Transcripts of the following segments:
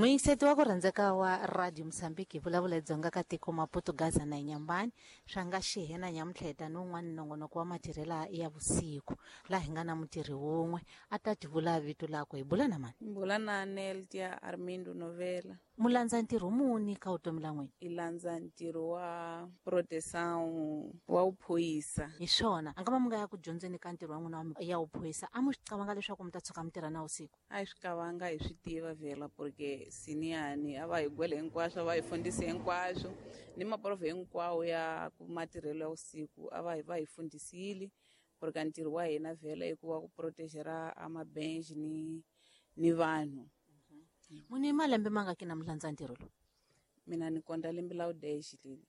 Muyingiseti wa ku rhandzeka wa Radio Mozambique, hi vulavula hi Dzonga ka tiko Maputo, Gaza na Inyambani swa nga xihena nyamuntlha hi ta ni wun'wana nongonoko wa matirhela ya vusiku, laha hi nga na mutirhi wun'we a ta tivula vito lakwe. Hi bula na mani? Bula na Neltia Armindo Novela. Mulandza ntirho muni ka vutomi la n'wina? I landza ntirho wa proteção wa vuphorisa. Hi swona, a nga va mi nga ya ku dyondzeni ka ntirho wa n'wina wa ya vuphorisa, a mu swi qavanga leswaku mi ta tshuka mi tirha na vusiku? A hi swi qavanga, hi swi tiva vhela, porque siniyani a va hi gwele hinkwaswo, a va hi fundisi hinkwaswo, ni maprofe hinkwawo ya matirhelo ya vusiku a va hi va hi fundisile, porque ntirho wa hina vhela i ku wa ku protegera a mabench ni vanhu. Muni malembe ma nga ki na mulandza ntirho lowu? Mina ni konta lembe la udex leli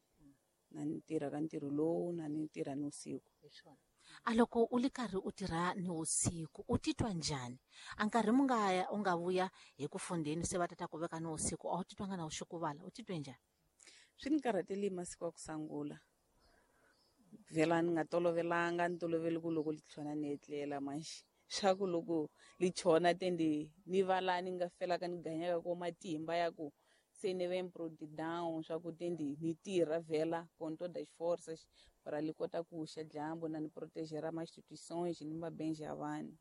na ni tirha ka ntirho lowu, na ni tirha ni usiku. A loko u li karhi u tirha ni usiku, u titwa njhani? A nkarhi mu nga ya u nga vuya hi ku fundeni se va tata ku veka ni usiku, a wu titwanga na u xukuvala, u titwe njhani? Swi ni karhateli masiku ya ku sungula. Vhela ni nga tolovelanga, ni tolovele ku loko li tlhona ni etlela manjhe. Swa ku loko li chona tendi ni va la ni nga felaka ni ganyaka ko matimba ya ku se ni ve down swa ku tendi ni tirha vhela com todas as forças para li kota ku xa dyambu na ni protegera ma instituições ni mabenje ya vanhu.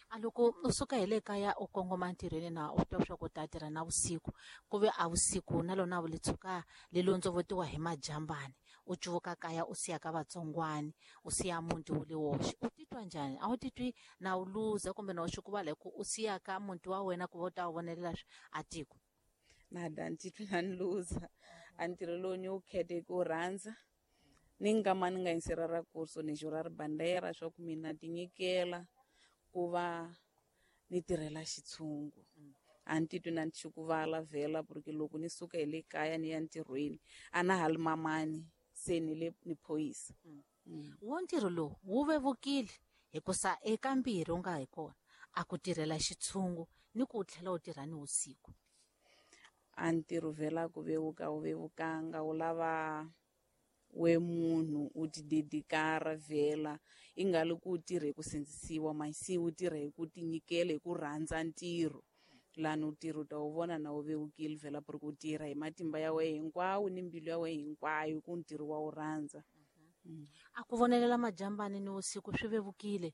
A loko u suka hi le kaya u kongoma ntirhweni na u twa swa ku ta tirha na vusiku, ku ve a vusiku na lona li tshuka li londzovotiwa hi majambani, u cuvuka kaya u siya ka vatsongwani, u siya muti wu le woxe, u titwa njhani? A wu titwi na u luza kumbe na u xukuvala hi ku u siya ka muti wa wena ku va u ta wu vonelela a tiko? Nada, ni titwi na ni luza. A ntirho lowu ni wu khete ku rhandza, ni nga ma ni nga yingisela ra kurso ni jurar bandera swa ku mina tinyikela ku va ni tirhela xitshungu. A ni titwi na ni xukuvala vhela, porque loko ni suka hi le kaya ni ya ntirhweni a na ha li mamani, se ni le ni phorisa. Wo ntirho lowu wu vevukile hikusa eka mbirhi u nga hi kona, a ku tirhela xitshungu ni ku u tlhela u tirha ni vusiku. A ntirho vhela ku vevuka wu vevukanga, wu lava we munhu u ti dedikara vhela, i nga li ku u tirha hi ku sindzisiwa, masi u tirha hi ku tinyikela, hi ku rhandza ntirho. Lani u tirha u ta wu vona na wu vevukile vhela, porque u tirha hi matimba ya wena hinkwawo ni mbilu ya wena hinkwayo, ku ntirho wa wu rhandza. A ku vonelela majambani ni vusiku swi vevukile?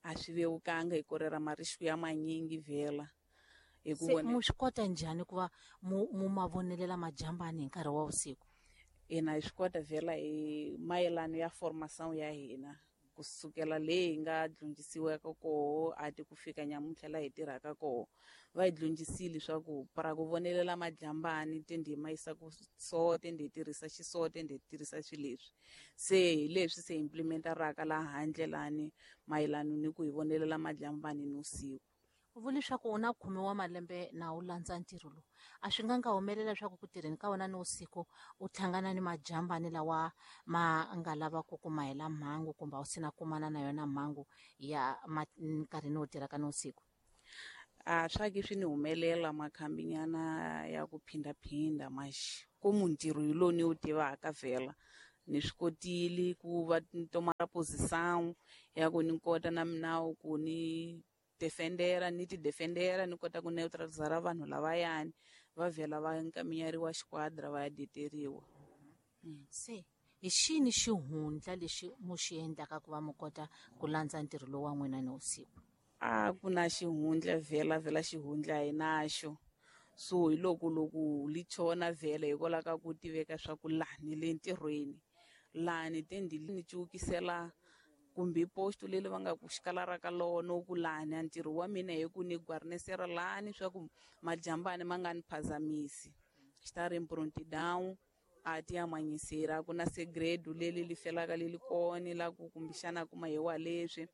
A swi vevukanga, hi korera marisku ya manyingi vhela. Hi ku Se mu swi kota njhani ku va mu ma vonelela majambani hi nkarhi wa vusiku? Hina hi swi kota vhela hi mayelano ya formação ya hina, kusukela leyi hi nga dyondzisiwaka koho a ti ku fika nyamuntlha laha hi tirhaka koho, va hi dyondzisile swa ku para ku vonelela majambani tendi hi ma yisa ku so, tendi hi tirhisa xiso, tendi hi tirhisa swilo leswi. Se hi leswi se implementaraka laha handle lani mayelano ni ku hi vonelela majambani ni vusiku. U vula leswaku u na 10 wa malembe na u landza ntirho lowu, a swi nga nga humelela leswaku ku tirheni ka wena ni vusiku u hlangana ni majambani lawa ma nga lava ku kuma hela mhangu, kumbe a wu sina kumana na yona mhangu ya nkarhini wo tirhaka ni vusiku? A swa ke swi ni humelela makhambinyana ya ku phindaphinda, maxi ku ntirho hi lowu ni wu tivaka vhela, ni swi kotile ku va ni tomara posição ya ku ni kota na minawu ku ni defendera, ni ti defendera, ni kota ku neutralizara vanhu lavayani, va vhela va nkaminyeriwa xiquadra va ya deteriwa. Se hi xini xihundla lexi mu xi endlaka ku va mu kota ku landza ntirho lowu wa n'wina ni vusiku? A ku na xihundla vhela, vhela xihundla hi naxo. So hi loko loko li chona vhela hikwalaho ka ku tiveka swa ku laha ni le ntirhweni, lani tendi ni cukisela kumbe posto leri va nga ku xikala ka lona ku lani a ntirho wa mina hi ku ni guarnesera lani swa ku majambani ma nga ni phazamisi. Estar em prontidão a ti amanyisera, ku na segredo leri li felaka li li kona la ku kumbexana kuma hi wa leswi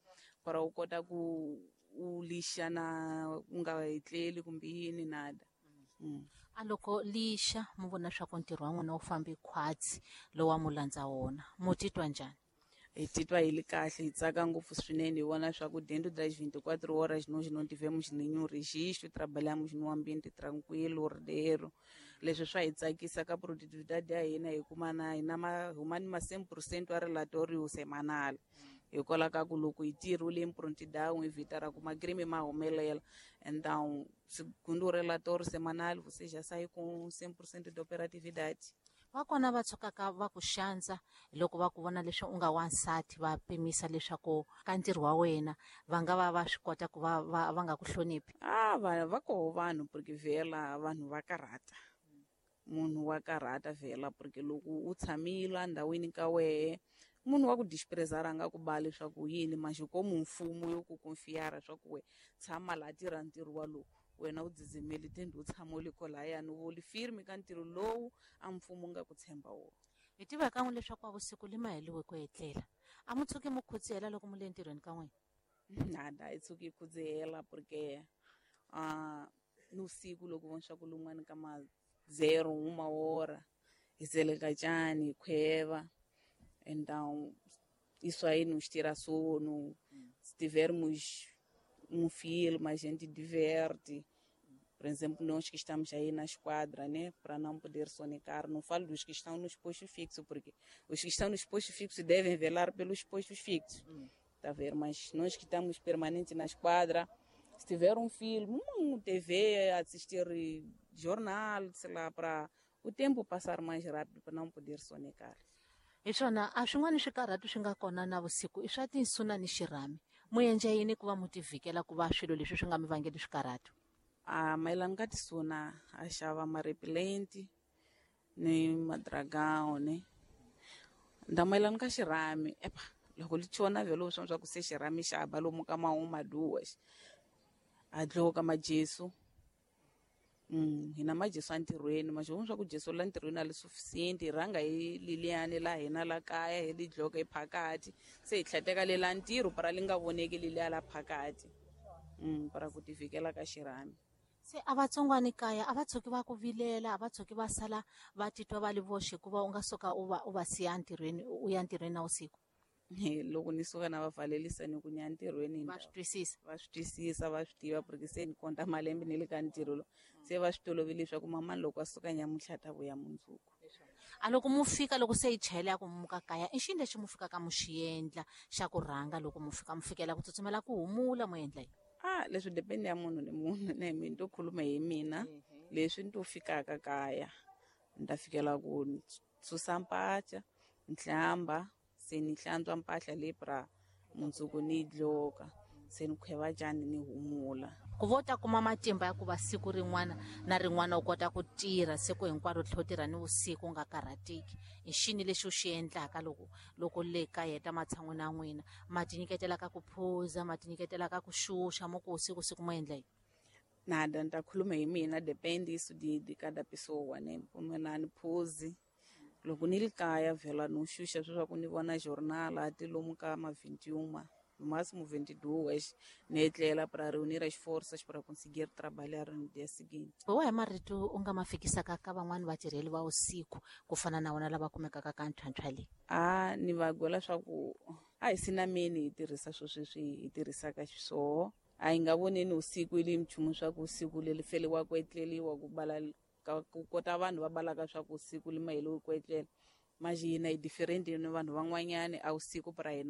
para u kota ku u lixa na u nga etleli kumbe yini nada. A loko lixa mu vona swa ku ntirho wa n'wina wu fambi khwatsi lowu wa mu landza wona, mu titwa njhani? Hi titwa hi li kahle, hi tsaka ngopfu swinene, hi vona swa ku dentro das 24 horas nós não tivemos nenhum registro, trabalhamos no ambiente tranquilo, ordeiro. Leswi swa hi tsakisa ka productividade ya hina, hi kuma na hina ma huma ni ma 100% wa relatório semanal. Hikwalaho ka ku loko hi tirhile em prontidão evitar ku macrime ma humelela. Então, segundo o relatório semanal, você já sai com 100% de operatividade. Va kona va tshukaka va ku xandza loko va ku vona leswi u nga wansati, va pimisa leswaku ka ntirho wa wena va nga va va swi kota ku va va va nga ku hloniphi? Ah, va koho vanhu, porque vhela vanhu va karhata. Munhu wa karhata vhela, porque loko u tshamile endhawini ka wehe, munhu wa ku disprezar a nga ku ba leswaku yini, manjhe komu mfumo yo ku confiar swa ku we tshama laha, tirha ntirho walowu, wena u dzidzimeli tende u tshama u le kolayani, u li firme ka ntirho lowu a mfumo wu nga ku tshemba wona. Hi tiva kan'we leswaku a vusiku li ma heliwe ku etlela, a mu tshuki mu khudzihela loko mu le ntirhweni ka n'wina? Nada, hi tshuki hi khudzihela, porque ni usiku loko vona swa ku lun'wani ka ma 0 uma hora hi tseleka tjani, hi khweva. Então isso aí nos tira sono. Se tivermos um filme, a gente diverte. Por exemplo, nós que estamos aí na esquadra, né, para não poder sonecar, não falo dos que estão nos postos fixos, porque os que estão nos postos fixos devem velar pelos postos fixos. Tá a ver? Mas nós que estamos permanentes na esquadra, se tiver um filme, um TV, assistir jornal, sei lá, para o tempo passar mais rápido, para não poder sonecar. Hi swona, a swin'wana swikarhati swi nga kona na vusiku i swa tinsuna ni xirhami. Mu endla yini ku va mu tivhikela ku va swilo leswi swi nga mi vangeli swikarhati? A mayelana ka tisuna, a xava marepelenti ni madragão, ne. Nda mayelana ka xirhami, epa, loko li chona vhele swa ku se xirhami xa ba lomu ka ma uma duas, a dloka majesu. Hina majesu entirhweni, ma swa ku jesu la ntirhweni a li suficiente, hi rhanga hi liliyani la hina la kaya, hi li dloka hi phakati, se hi tlheteka le la ntirho para li nga voneki leliya la phakati, para ku tivikela ka xirhami. Se a vatsongwani kaya a va tshuki va ku vilela, a va tshuki va sala va titwa va li voxe hikuva u nga suka u va siya ntirhweni, u ya ntirhweni na vusiku? Loko ni suka na va valelisa ni ku ni ya ntirhweni. Va swi twisisa? Va swi twisisa, va swi tiva, porque se ni konta malembe ni le ka ntirho lowu, se va swi tolovele leswaku mamani loko a suka nyamuntlha ta vuya mundzuku. A loko mu fika, loko se yi chayela ya ku muka kaya, i xini lexi mu fikaka mu xi endla xa ku rhanga loko mu fika, mu fikela ku tsutsumela ku humula, mu endla yini? A leswi depende ya munhu ni munhu, ne mi ni to khuluma hi mina. Leswi ni to fikaka kaya, ni ta fikela ku susa mpacha, ni hlamba, se ni hlantswa mpahla leyi pra mundzuku ni yi dloka, se ni khweva tjani, ni humula. Ku va u ta kuma matimba ya ku va siku rin'wana na rin'wana u kota ku tirha siku hinkwaro, tlhela u tirha ni vusiku u nga karhateki, i xini lexi u xi endlaka loko le ka heta matshan'wini ya n'wina? Ma ti nyiketela ka ku phuza, ma ti nyiketela ka ku xuxa, mo ku siku siku mo endla yini? Nada, ni ta khuluma hi mina, depende isso de cada pessoa, né? Mina ni phuzi. Loko ni ri kaya vhela no xuxa leswaku ni vona jornal ati lomu ka ma 21, no máximo 22, ni etlela para reunir as forças para conseguir trabalhar no dia seguinte. Hi wahi marito u nga ma fikisaka ka van'wani vatirheli va vusiku ku fana na wona lava kumekaka ka ntlhantlha leyi? A ni va gwela swa ku a hi sinameni hi tirhisa swo sweswi hi tirhisaka xiswoho, a hi nga voneni usiku ili nchumu swa ku usiku leri feliwa ku etleliwa, ku bala ka ku kota vanhu va balaka swa ku usiku li maheliwi ku etlela. Manjhe hina hi different ni vanhu van'wanyani, a usiku para hina.